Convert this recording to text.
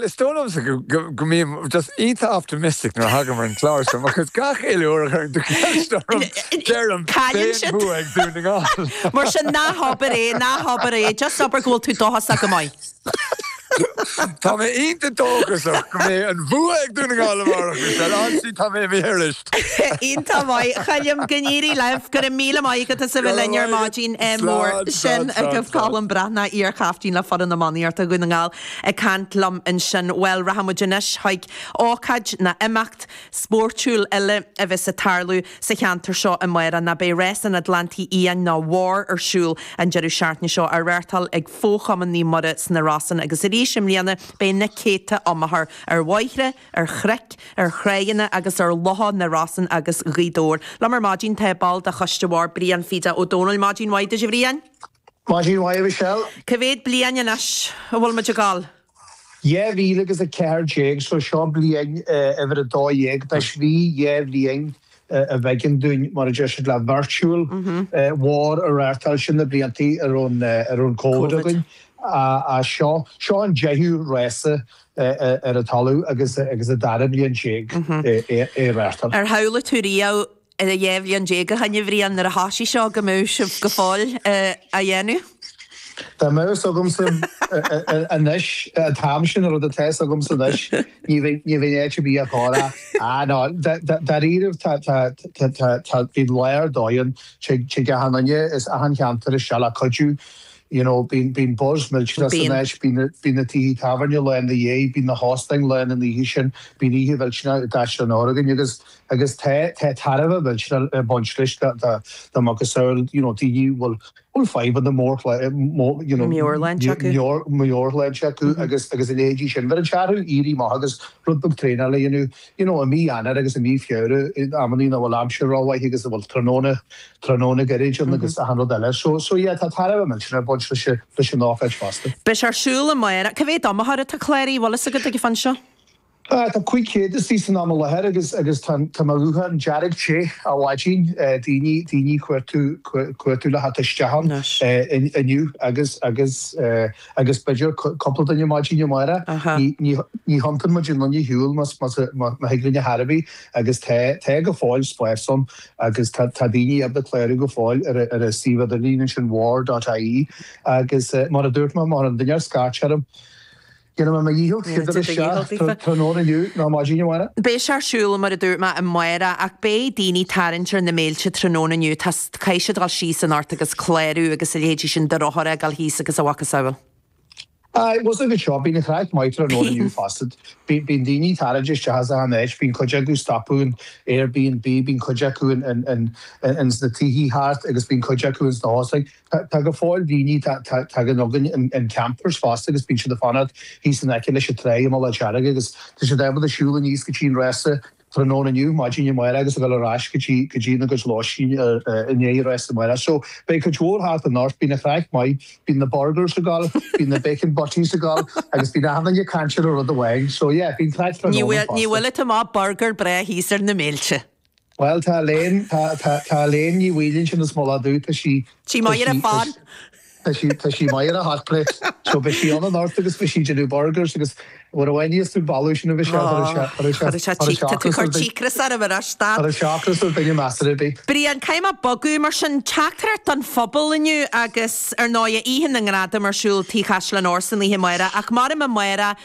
is dóigh liomsa go mbím just iontach optimistic nuair a thagaim ar an chlár seo, because gach uile uair a chuireann tú ceist orm, deirim, Cailleann beidh an siad. bua ag Dún na nGall. Mar sin, ná habair é, ná habair é, just abair go bhfuil tú dóchasach go maith. Tá mé iontach dóchasach go mbeidh an bua ag Dún na nGall amárach, Michelle. Honestly, tá mé imithe arís. Iontach maith, a Choilm, go n-éirí libh. Go raibh míle maith agat as a bheith linn ar maidin mhór. Sin agaibh Colm Breathnach, iar-chaiftín le foireann iománaíochta Dhún na nGall, ag caint liom ansin. Bhuel, rachaidh muid anois chuig ócáid ná imeacht spóirtiúil eile a bheas ag tarlú sa cheantar seo amárach ná beidh Rás an Atlantaigh Fhiáin nó WAR ar siúl an deireadh seachtaine seo, á reáchtáil ag Fo-Chumann Naomh Muire sna Rosann agus arís i mbliana beidh na céadta iomaitheoir ar bhóithre, ar chnoic, ar thráigheanna agus ar locha na Rosann agus Ghaoth Dobhair. Liom ar maidin tá ball de choiste WAR, Brian Pheda Ó Domhnaill. Maidin mhaith duit a Bhriain. Maidin mhaith a Mhichelle. Cá mhéad bliain anois a bhfuil muid ag gabháil? 2014, so seo bliain uimhir a 12, anois bhí 2 bhliain a b'éigean dúinn, mar a deir siad, le virtual WAR a reáchtáil, sin na bliantaí a raibh an Covid againn. Seo, seo an deichiú rása ar an talamh agus an dara bliain déag é a reáchtáil. Ar shamhlaigh tú riamh 12 bhliain ó shin, a Bhriain, nuair a thoisigh seo go mbeadh sibh go fóill á dhéanamh? Dá mbeadh fhios agamsa anois, an t-am sin, an rud atá fhios agamsa anois, ní bheinn áit ar bith a chur. Ah no, dáiríribh tá, tá, tá, tá, bíonn lá ar dóigh ann, tig, tig achan duine as achan cheantar isteach le cuidiú, you know, bíonn, bíonn buzz millteanach san Bíonn. áit, bíonn na, bíonn na tithe tábhairne lán ina dhiaidh, bíonn na hóstáin lán an oíche sin, bíonn oíche mhillteanach i gCaisleán Óir againn agus, agus tá, tá tairbhe mhillteanach ag baint leis do, do, do macasamhail, you know, daoine a bhfuil, bhfuil fadhbanna mór, you know, Meabhairshláinte acu. meabhairshláinte acu agus, agus a leithéidí sin. Bheireann sé orthu éirí amach agus rud beag traenála a dhéanamh, you know, i mí Eanáir agus i mí Feabhra, in amannaí nach bhfuil aimsir rómhaith agus a bhfuil tráthnóna, tráthnóna gairid ann agus achan rud eile. So, so yeah, tá tairbhe millteanach ag baint leis, leis an ócáid fosta. Beidh sé ar siúl amárach. Cá mhéad iomaitheoir atá cláraithe, bhfuil fhios agat ag an phointe seo? Tá 500 istigh san am i láthair agus agus tá tá mo ghuthán dearg te ó mhaidin, daoine daoine cuartú cuartú le theacht isteach ann inniu agus agus agus b'fhéidir cúpla duine maidin amárach. Ní ní ní thiontaíonn muid aon duine ar shiúl más más má thig linn ar chor ar bith agus tá tá go fóill spás ann agus tá tá daoine ábalta clárú go fóill ar ar an suíomh idirlín ansin war.ie agus mar a dúirt mé má chuireann duine scairt orm Déanfaidh mé mo dhícheall teacht isteach tráthnóna inniu nó maidin amárach. Beidh sé ar siúl, mar a dúirt mé, amárach ach beidh daoine ag tarraingt ar na mílte tráthnóna inniu. Tá, caithfidh siad dul síos anocht agus clárú agus a leithéidí sin de rothar a ghabháil thíos agus a mhacasamhail. Aye, bhfuil fhios agat seo, bíonn an chraic maith tráthnóna inniu fosta. Bíonn daoine ag tarraingt isteach as achan áit, bíonn cuid acu ag stopadh in Airbnb, bíonn cuid acu in sna tithe thart agus bíonn cuid acu ins na hóstáin. Tá go fóill daoine, tagann againn in campers fosta agus bíonn siad ag fanacht thíos in aice leis an trá i Mullach Dearg agus tá siad ábalta siúl aníos go dtí an rása tráthnóna inniu, maidin amárach agus a dhul ar ais go dtí go dtí ina gcuid lóistín i ndiaidh an rása amárach. So beidh cuid mhór thart anocht, bíonn an chraic maith, bíonn na burgers ag gabháil, bíonn na bacon butties ag gabháil agus bíonn achan duine ag caint ar an rud amháin. So yeah, bíonn craic Ní tráthnóna bhfuil, ní fosta. bhfuil tú amach burger breá thíos ar na mílte. Bhuel, tá Elaine, tá, tá, tá Elaine Ní Bhaoill ansin as Mullach Dubh, tá sí, Sí maith ar an phán. tá sí, tá sí maith ar an hot plate. So beidh sí ann anocht agus beidh sí ag déanamh burgers agus nuair a bhainfeas tú boladh sin a bheidh sé, chuirfeadh sé, Chuirfeadh sé chuirfeadh sé tá tú ocras cur ar duine, cíocras orm anois, stad. chuirfeadh sé ocras ar duine measartha ar bith. Brian, caithfidh mé bogadh mar sin teachtaireacht don phobal inniu agus ar ndóigh Oíche na nGradam ar siúl Tigh Chaisleán Óir san oíche amárach ach maram amárach.